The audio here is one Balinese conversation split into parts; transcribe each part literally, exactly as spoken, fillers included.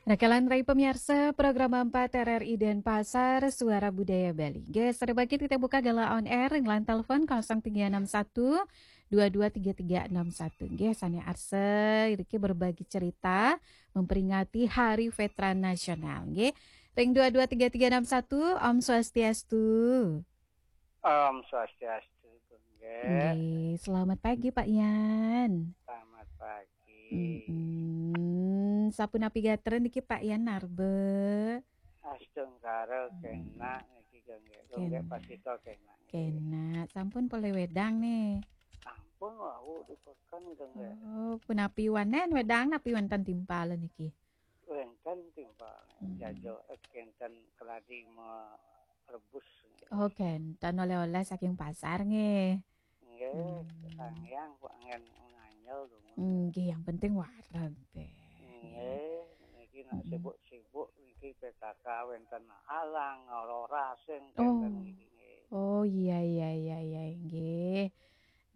Rakalan rai pamiarsa, program empat R R I Denpasar, Suara Budaya Bali. Nggih, sareng bangkit kita buka gala on air, ring line telepon kosong tiga enam satu, dua dua tiga tiga enam satu. Nggih, sane arsa, iriki berbagi cerita, memperingati Hari Veteran Nasional. Nggih, ring dua dua tiga tiga enam satu, Om Swastiastu. Om Swastiastu, nggih. Nggih, selamat pagi, Pak Yan. Selamat pagi. Mm-mm. Sapunapi gatra niki, Pak Yan, narbe? Astungkara, hmm, kenak niki, nggih. Nggih, kenak. Pasita kenak. Kenak. Sampun polih wedang nih? Sampun, wau di peken, nggih. Oh, punapi wanen wedang, napi wenten timpal niki? Wenten timpal. Hmm. Jajo, eh, kenten keladi merebus. Oh, kenten oleh-oleh saking pasar nggih. Nggih, hmm, Sang Hyang kok angin nganjel dong. Nggih, yang penting wareg deh. Nggih, niki nak, hmm, sibuk-sibuk niki P K K wenten alang, aurora sing, oh, wenten niki nggih. Oh, iya, iya, iya, iya, nggih.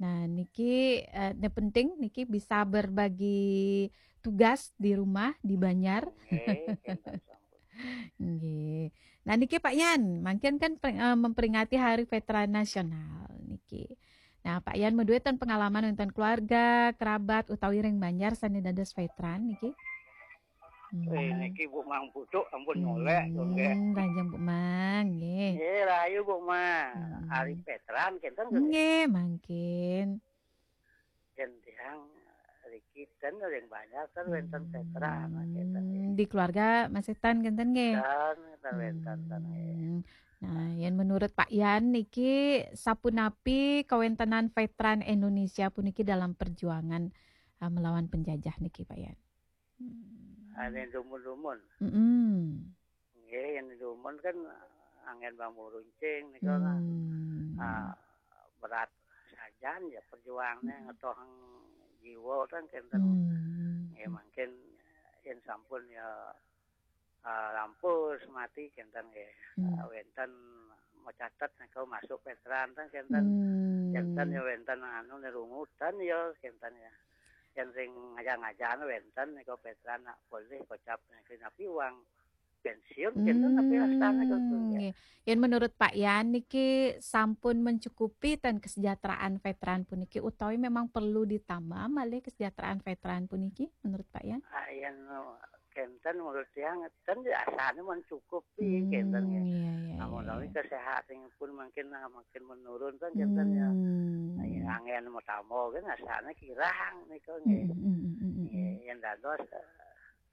Nah, niki, eh, ne penting niki bisa berbagi tugas di rumah, di Banjar. Nggih, kenten sampun. Nggih. Nah, niki Pak Yan, mangkin kan per-, eh, memperingati Hari Veteran Nasional niki. Nah, Pak Yan madue ten pengalaman wenten keluarga, kerabat, utawi ring Banjar sane dados veteran niki? Hmm. Eh, niki Bu Mang Pucuk ampun nyolek, nggih. Hmm, rahajeng Bu Mang, nggih. Nggih, rahayu Bu Mang. Hmm. Ari veteran kenten, nggih? Nggih, mangkin. Yen tiang riki ten ring Banjar ten wenten veteran, kenten, nggih. Hmm, di keluarga masih ten kenten, nggih? Ten, ten wenten, ten, nggih. Hmm. Nah, yen menurut Pak Yan niki sapunapi kawentenan veteran Indonesia puniki dalam perjuangan, eh, melawan penjajah niki, Pak Yan? Hmm. Ane dumun-dumun. Mm-mm. Nggih, yen dumun kan anggen bambu runcing nika, hmm, ah, berat sajan ya perjuangne, hmm, ngetohang jiwa kan kenten. Hmm. Nggih, mangkin yen sampun ya, ah, rampus mati kenten nggih. Hmm. Ah, wenten macatet nika masuk veteran ten kenten. Hmm. Kenten ya wenten anu ne rungutan ya kenten ya. Yen sing ngajak-ngajak wenten nika veteran nak polih kocap niki napi wang pensiun kenten napi astane kenten ya. Hmm, nggih. Yen menurut Pak Yan niki sampun mencukupi ten kesejahteraan veteran puniki utawi memang perlu ditambah malih kesejahteraan veteran puniki menurut Pak Yan? Ah, yen kenten menurut tiang ten ya asane mencukupi kenten ya. Hmm, iya, iya, iya, iya. Amun kesehatanipun mungkin, ah, makin menurun kan kenten ya. Hmm. Nah, ya, angin mau tambah kan asane kirang nika nggih. Hmm, hmm, hmm, hmm, hmm. Nggih, yen dados, eh,